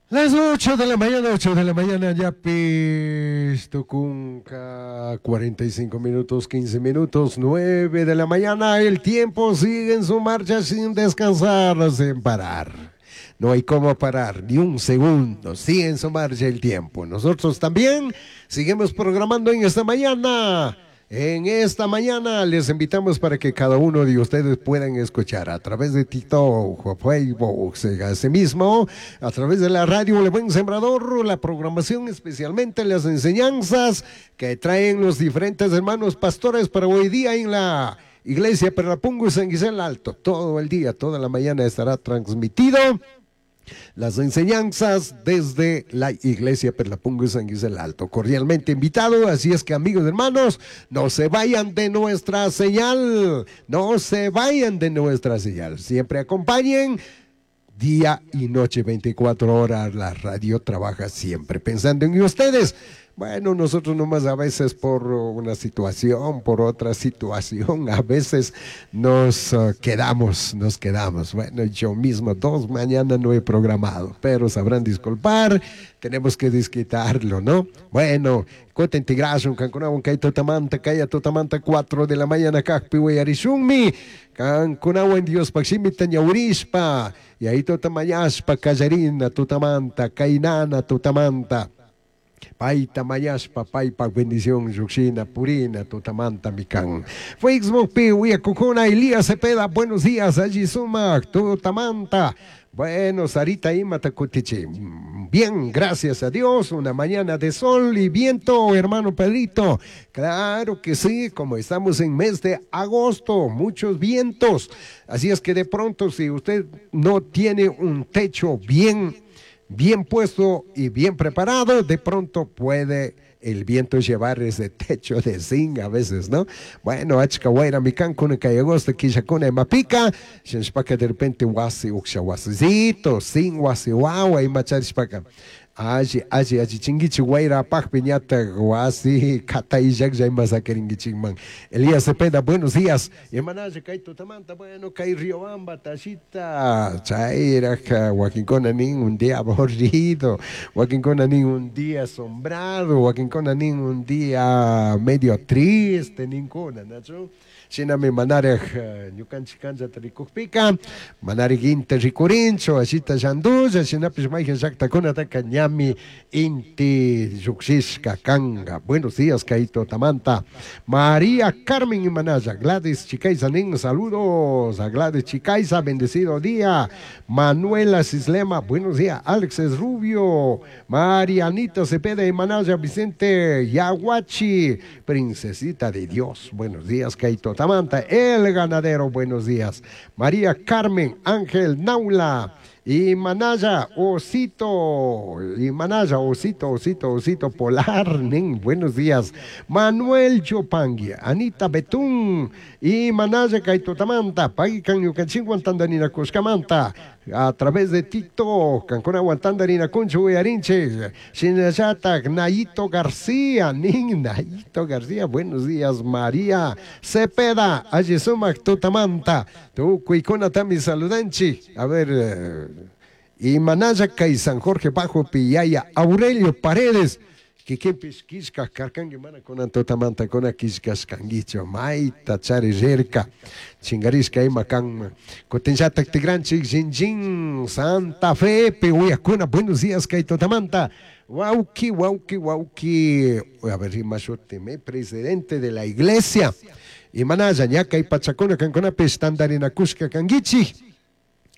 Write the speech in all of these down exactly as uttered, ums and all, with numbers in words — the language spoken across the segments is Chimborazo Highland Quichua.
Las ocho de la mañana, ocho de la mañana, ya Pistucunca, cuarenta y cinco minutos, quince minutos, nueve de la mañana, el tiempo sigue en su marcha sin descansar, sin parar. No hay cómo parar, ni un segundo, sigue en su marcha el tiempo. Nosotros también seguimos programando en esta mañana. En esta mañana les invitamos para que cada uno de ustedes puedan escuchar a través de TikTok, Facebook, mismo, a través de la radio El Buen Sembrador, la programación, especialmente las enseñanzas que traen los diferentes hermanos pastores para hoy día en la iglesia Perlapungo y San Guisel Alto. Todo el día, toda la mañana estará transmitido las enseñanzas desde la iglesia Perlapungo y San Guisel Alto. Cordialmente invitado, así es que, amigos, hermanos, no se vayan de nuestra señal, no se vayan de nuestra señal. Siempre acompañen día y noche, veinticuatro horas, la radio trabaja siempre pensando en ustedes. Bueno, nosotros nomás a veces por una situación, por otra situación, a veces nos uh, quedamos, nos quedamos. Bueno, yo mismo dos mañana no he programado, pero sabrán disculpar, tenemos que desquitarlo, ¿no? Bueno, cutin tigrashun, kankunawan kay tutamanta, kaya tutamanta cuatro de la mañana, kajpi uyarishunmi, kankunawan Diospaj shimita ñawirishpa, y ahí tutamañashpa, kallarina tutamanta, kainana tutamanta. Paita mañashpa, paypa bendición llukshina purina tutamanta mikan. Facebook pi uyakukuna, Elías Cepeda, buenos días, alli sumak tutamanta. Bueno, Sarita imata kutichi. Bien, gracias a Dios, una mañana de sol y viento, hermano Pedrito. Claro que sí, como estamos en mes de agosto, muchos vientos. Así es que de pronto, si usted no tiene un techo bien bien puesto y bien preparado, de pronto puede el viento llevar ese techo de zinc a veces, ¿no? Bueno, achka wayrami kan kunan kay agosto killakuna imapika, shinashpaka de repente wasi uksha wasicito, zinc wasi wawa imacharishpaka. Alli, alli, alli, chinguichi wayra apajpi ñatak wasi katayllaklla ima saquiringuichikman. Elías Cepeda, buenos días. Imanalla kay tutamanta, bueno, kay Riobamba, tashita, chayraj, wakinkuna nin un día aburrido, wakinkuna nin un día sombrado, wakinkuna nin un día medio triste, ninkuna, ¿nachu? Shinami manaraj ñukanchik kanchata rikukpika, manarik inti rikurinchu, ashita llandulla, shinapish mayjan llaktakunataka ñami inti llukshishka kanga. Buenos días, kay tutamanta. María Carmen imanalla, Gladys Chicaiza nin, saludos a Gladys Chicaiza, bendecido día. Manuela Cislema, buenos días. Alex Rubio, Marianita Cepeda imanalla, Vicente Yaguachi, princesita de Dios, buenos días, kay tutamanta. El ganadero, buenos días. María Carmen Ángel Naula. Y Manaya, Osito, y Manaya, Osito, Osito, Osito Polar, nin, buenos días. Manuel Chopangui, Anita Betún, y Manaya kay tutamanta, Paikan ñukanchikwan tandarinakushkamanta, a través de TikTok, kankunawan tandarinakunchik uyarinchik, shinallatak, Nayito García, nin, Nayito García, buenos días, María Cepeda, alli sumak tutamanta, tukuikunatami saludanchik, a ver, eh, y Manaya kay San Jorge Bajo Piyaya, Aurelio Paredes, kikinpish killkak karkanki mana kunan tutamanta kuna killkashkankichu mayta chari rirka chingarishka ima kan kutinllatak tigranchik Shinjin Santa Fe pi uyakuna, buenos días kay tutamanta. Wauki, wauki, wauki, a ver, ima shutimi, presidente de la iglesia imanalla ña kay pachakuna kankunapish tandarinakushka kankichik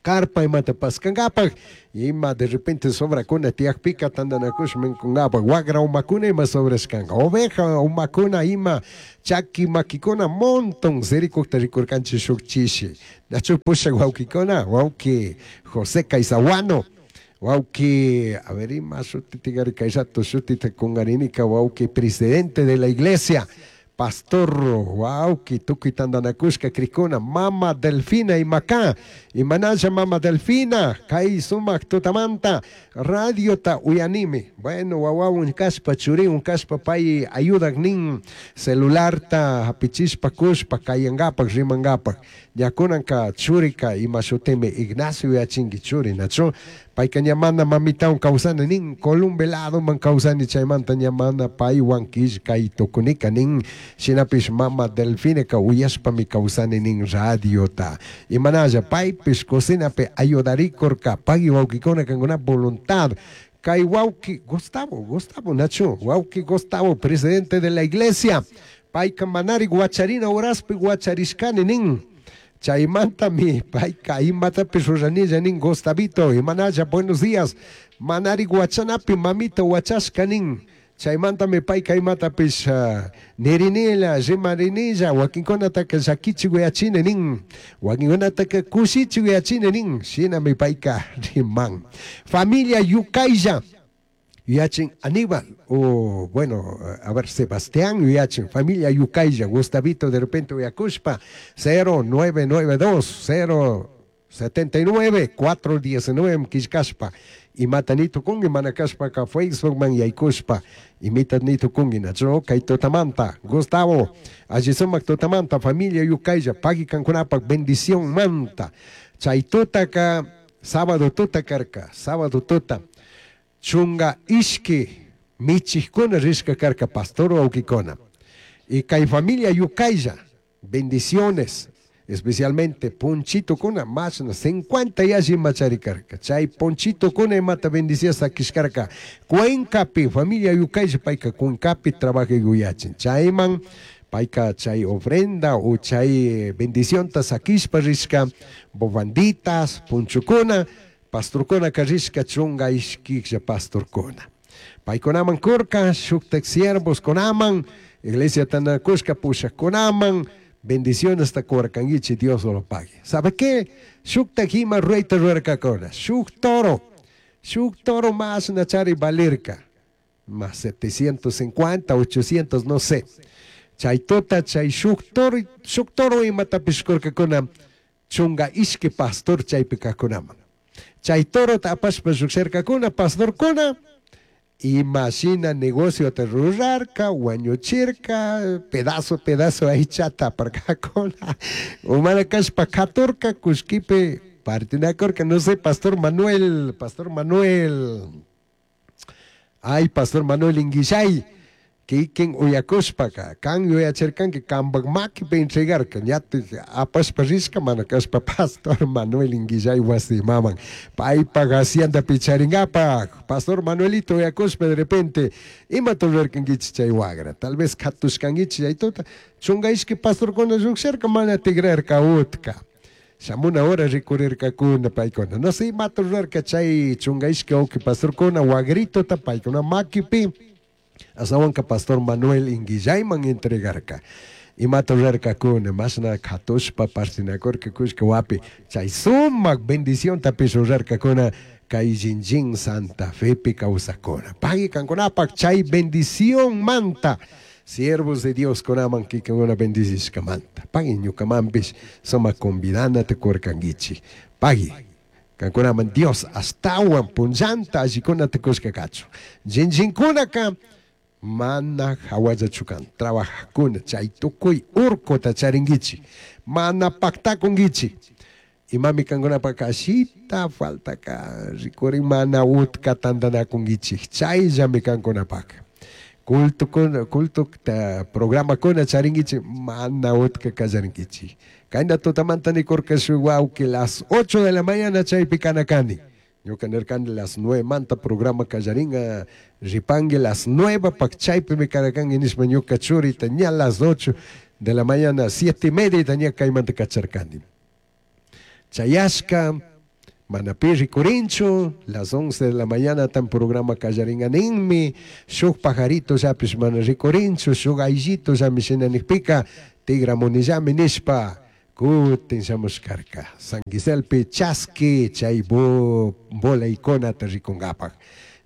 carpa imata paskangapak ima de repente sobrakuna tiyakpika tandanakush minkungapak wagra umakuna ima sobrashkanka oveja umakuna ima chaki makikuna monton sirikukta rikurkanchik shuk chishi nachu pushak wawkikuna wawki José Caizahuano, wawki, a ver, ima shutitigari kay rato shutita kunkarinika, wawki presidente de la iglesia, pastor wawki tukuy tandanakushka krikuna mama Delfina imaka imanalla mama Delfina kay sumak tutamanta radiota uyanimi. Bueno, wawawan kashpa churiwan kashpa pay ayudak nin celularta hapichishpa kushpa kayangapak rimangapak ña kunanka churika ima shutimi Ignacio yachinki churi nachu. Payka ña mana mamitawan kawsani nin, Columbe ladoman kawsani chaymanta ña mana paywan killkay tukunika nin, shinapish mama Delfineka uyashpami kawsani nin radiota. Imanalla paypish cocinapi ayudarikurka, pagui wawkikuna kankuna voluntad. Kay wawki Gustavo, Gustavo Nacho, wawki Gustavo, presidente de la iglesia, payka manari guacharina horaspi guacharishkani nin. Chaymantami payka imatapish ruranilla nin Gustavito, imanalla buenos días, manari guachanapi mamita guachashka nin. Chaymantami payka imatapish uh, nirinilla, rimarinilla, wakinkunataka llakichi uyachini nin, wakinkunataka kushichi uyachini nin, shinami payka riman. Familia Yucaylla, yuyachin Aníbal, o bueno, a ver, Sebastián yuyachin, familia Yucaylla, Gustavito de repente uyakushpa, cero nueve nueve dos, cero setenta y nueve, cuatro diecinueve killkashpa, imata nitukunki mana kashpaka Facebook man yaykushpa, imita nitukunki nacho kay tutamanta, Gustavo, alli sumak tutamanta, familia Yucaylla, pagui kankunapak bendición manta, chay tutaka, sábado tuta karka, sábado tuta, chunga ishki michijkuna rishka karka pastor wawkikuna. Y kay familia Yucaylla, bendiciones, especialmente Ponchito kuna, más de cincuenta y alli machari karka. Chay Ponchito kuna imata bendicias sakishkarka. Cuencapi, familia Yucaylla, payka Cuencapi trabaja yuyachin. Chayman, payka chay ofrenda o chay bendición ta sakishpa rishka, bobanditas, ponchukuna, pastorkuna karishka chunga ishkiklla pastorkuna. Paykunaman kurka, shuktak siervos kunaman, iglesia tanakushka pushakkunaman, bendiciones ta kurkangichi, Dios lo pague. ¿Sabe qué? Shuktak ima ruita ruerkakuna, shuk toro, shuk toro más nachari valirka, más setecientos cincuenta, ochocientos, no sé. Chay tota, chay shuk toro, shuk toro imatapish kurkakuna, chunga ishki pastor chaypi kakunaman. Chay toro tapashpa lluksharkakuna, pastorkuna, imagina negocio te rurarka, wañuchirka, pedazo, pedazo aychata aparkakuna. Umana kashpa katurka, kushkipi partinakurka, no sé, Pastor Manuel, Pastor Manuel, ay, Pastor Manuel Inguillay, kikin uyakushpaka, kan yuyachirkanki kanpak makipi entregarka, ñatik apashpa rishka mana kashpa Pastor Manuel Inguillay wasimaman, paypak hacienda picharingapak, Pastor Manuelito uyakushpa de repente, imata rurarkankichik chay wagra, tal vez katushkankichik chay tuta, chunga ishki pastorkuna lluksharka mana tigrarka utka. Shamuna hora rikurirkakuna paykuna, no sé imata rurarka chay chunga ishki wawki pastorkuna wagritota paykuna makipi, asawanka Pastor Manuel Inguillayman entregarka. Imata rurarkakuna, mashna katushpa partinakurka kushka wapi, chay sumak bendición tapish rurarkakuna, kay Jinjin Santa Fepi kawsakuna. Pagui kankunapak chay bendición manta, siervos de Dios kunaman kikuna bendicishka manta. Pagui ñukamanpish sumak convidana tukurkankichik. Pagui kankunaman Dios astawan punllanta allikuna tukushka kachun. Jinjinkunaka mana hawallachukan, trabajakuna, chay tukuy urkuta charinkichik, mana paktakunkichik. Imami kankunapaka ashita faltaka rikurin mana utka tantanakunkichik, chayllami kankunapaka. Kultukuna, kultu ta, programakuna charinkichik, mana utka kallarinkichik. Kayna tutamanta nikurka shuk wawki las ocho de la mañana chaypi kanakani. Ñuka nirkani las nueve manta programa kallaringa, ripangue las nueve pak chaypi mi karakangi nishpa ñuka churita ña las ocho de la mañana, siete y media ña kaymanta kacharkani. Chayashka, mana pi rikurinchu, las once de la mañana tan programa kallaringa ninmi, shuk pajarito llapish mana rikurinchu, shuk ayllito llami shina nikpika, tigramunillami nishpa, kutin shamushkarka. San Giselpi chaski chay bo, bola ikonata rikungapak.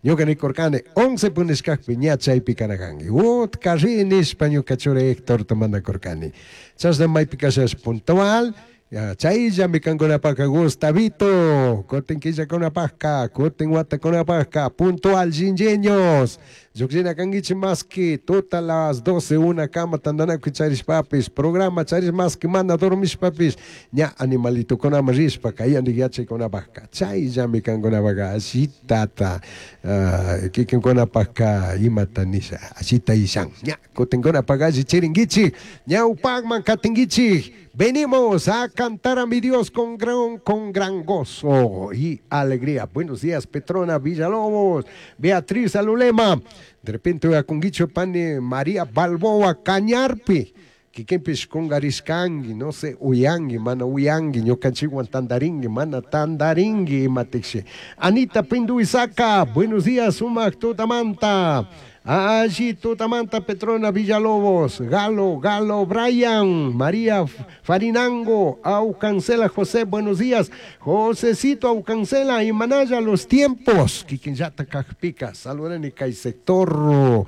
Ñuka nikurkani once punishkakpi ña chaypi kanakanki. Utka ri nishpa ñuka churi Héctor mandakurkani. Chashna maypi kashash puntual, ya, chayllami kankunapaka Gustavito, kutin killakunapaka, kutin watakunapaka, puntual jinjeños. Llukshina kankichik maski tuta las doce una kama tantanakuy charishpapish programa charish maski mana dormishpapish ña animalitokunaman rishpa kayandik yachaykunapakka chayllami kankunapaka allitata uh, kikinkunapakka imata nisha allita ishan ña kutinkunapaka alli chirinkichik ñawpakman katinkichik. Venimos a cantar a mi Dios con gran, con gran gozo y alegría. Buenos días, Petrona Villalobos, Beatriz Alulema. De repente voy a Conguicho Pane María Balboa Cañarpi. Kikinpish kungarishkanki, no sé, uyanki, mana uyanki, ñukanchikwan tandarinki, mana tandarinki, imatikshi. Anita Pinduizaca, buenos días, sumak tutamanta. Allí Tutamanta, Petrona Villalobos, Galo, Galo, Brian, María Farinango, Aucancela José, buenos días. Josecito Aucancela y Manaya, los tiempos. Kikinyata Kajpica, saludan y sector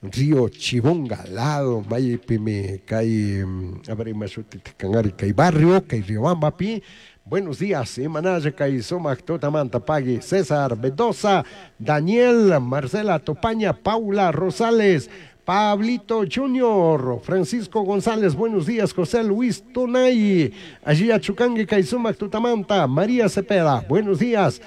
Río Chibonga, lado, Maypimi, Kay, a ver, Kangari, Kay Barrio, Kay Riobamba, Buenos días, Imanaya Kay Sumac Tutamanta Pagui, César Mendoza, Daniel, Marcela Topaña, Paula Rosales, Pablito Junior, Francisco González, buenos días, José Luis Tonay, allí Achucangue, Kaisumac Tutamanta, María Cepeda, buenos días,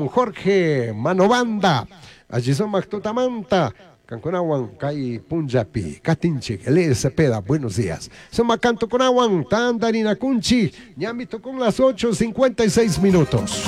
Jorge Manobanda, allí Sumac Tutamanta, Cancunawan, Kai Punjabi, Katinchik, Elías Cepeda, buenos días. Suma Canto Conawan, Tandarina Kunchi, Ñamito con las ocho cincuenta y seis minutos.